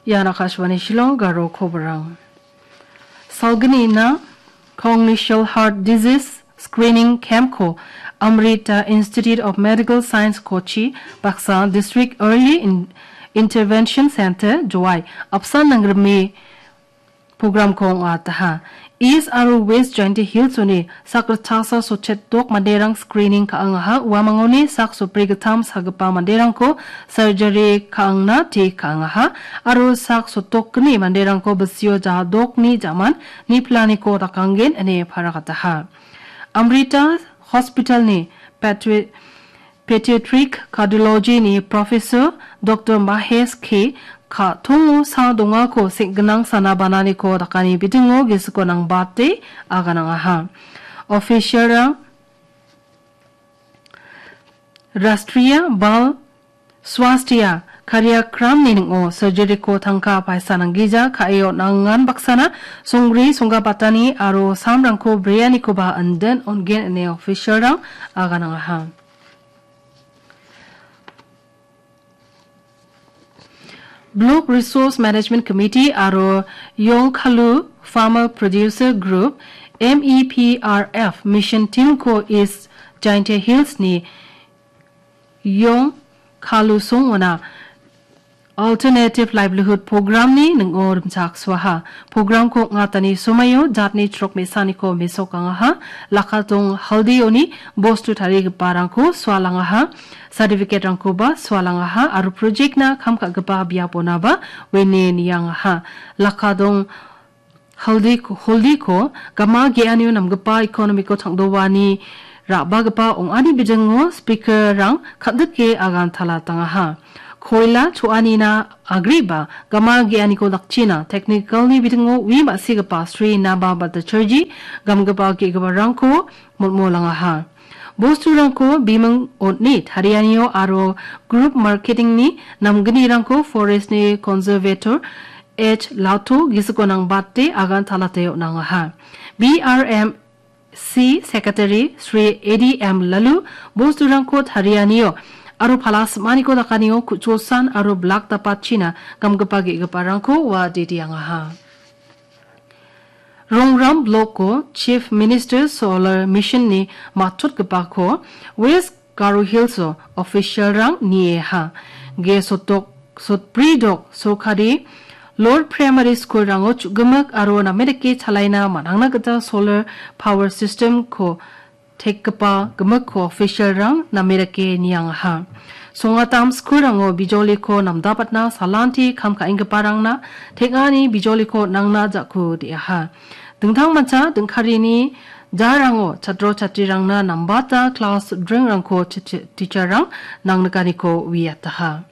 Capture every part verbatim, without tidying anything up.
Ian Akashvani Shillong Garo Koborang. Salgnina Congenital Heart Disease Screening Camp-ko Amrita Institute of Medical Science Kochi baksa District Early In-, Intervention Center Jowai apsan nangrime program-ko ong·ataha. East aro West Jaintia Hills-oni sak ritchasa sotchet dok manderang screening ka·angaha, uamangoni sak sotbri gittam sagipa manderangko surgery ka·angna te ka·angaha, aro sak sotdokgni manderangko bisio jadokni jaman niplaniko dakanggen ine paragataha. Amrita Hospital-ni Patri-, Pediatric Cardiology-ni Professor Doctor Mahesh K. Ka·tongo sa dongako seng·gnang sana bananiko dakani bidingo gisiko nangbate aganangaha. Official-rang Rashtriya Bal Swasthya Karyakram-ni ning·o surgery-ko tangka paisa nanggija ka·e on·angan baksana songgri songgabatani aro samrangko brianikoba indin ongen ine official-rang aganangaha. Block Resource Management Committee aro Yongkhalu Farmer Producer Group, M E P R F, Mission Team-ko East Jaintia Hills-ni Yongkhalu songona Alternative Livelihood Program-ni ning·o rimchaksoaha. Program-ko ong·atani somaio jatni chrok me·saniko mesokangaha. Lakatong Haldi-oni bostu tarigiparangko sualangaha. Certificate-rangkoba sualangaha aro project-na kam ka·gipa biaponaba uine niangaha. Lakatong Haldi-, Holdiko gama ge·anio namgipa economy-ko tangdoani ra·bagipa ong·ani bijango speaker-rang kal·dike agan talatangaha. Koila cho·anina agreba gama ge·aniko dakchina technical-ni bitingo ui ma·sigipa Sri Naba Bhattacharjee gamgipa ge·giparangko molmolangaha. Bosturangko biming on·e tarianio aro group marketing-ni namgnirangko forest-ni conservator H Lato gisiko nangbate agan talate on·angaha. B R M C Secretary Sri A D M Lalu bosturangko tarianio aro pala sim·aniko dakanio ku·chosan aro blak dapatchina gamgipa ge·giparangko ua ditiangaha. Rongram Block-o Chief Minister Solar Mission-ni matchotgipako West Garo Hills-o official-rang nieha. Ge sotok, sotbri dok sorkari Lord Primary School-rango chu·gimik aro name dake chalaina man·angna gita solar power system-ko tekgipa gimikko official-rang name dake niangaha. Songatam school-rango bijoliko namdapatna salanti kam ka·enggiparangna teng·ani bijoliko nangna ja·ko de·aha. Dingtangmancha dingkarini jarango chatro chatrirangna nambata class dringrangko ti-, ti-, teacher-rang nangnikaniko uiataha.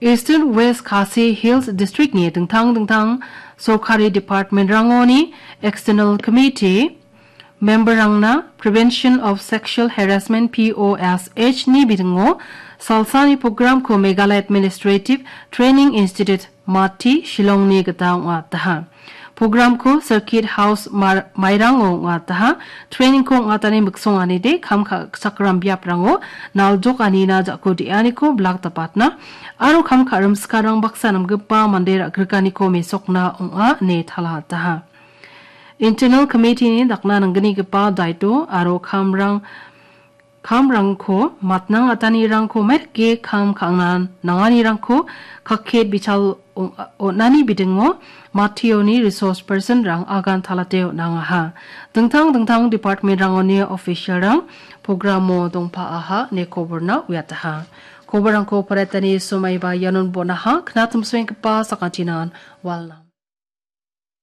Eastern West Khasi Hills District-ni dingtang dingtang sorkari department-rangoni External Committee member-rangna Prevention of Sexual Harassment, P O S H-ni bidingo salsani program-ko Meghalaya Administrative Training Institute, Mati, Shillong-ni gita ong·ataha. Program-ko Circuit House Mar-, Mairango ong·ataha. Training-ko ong·atani miksonganide kam ka-, sakram biaprango naljokanina ja·ko de·aniko blak dapatna aro kam ka·rim sikarang baksa namgipa mande ra·grikaniko mesokna ong·a ine talataha. Internal Committee-ni dakna nanggnigipa daito aro kamrang kamrangko matnang atanirangko mairike kam ka·angna nanganirangko kakket bichal ong-, on·ani bidingo Mationi resource person-rang agan talate on·angaha. Dingtang dingtang department-rangoni official-rang program-o dongpaaha ine koborna uiataha. Koborrangko paretani somaiba ianon bon·aha, knatimsoenggipa sakantinan walna.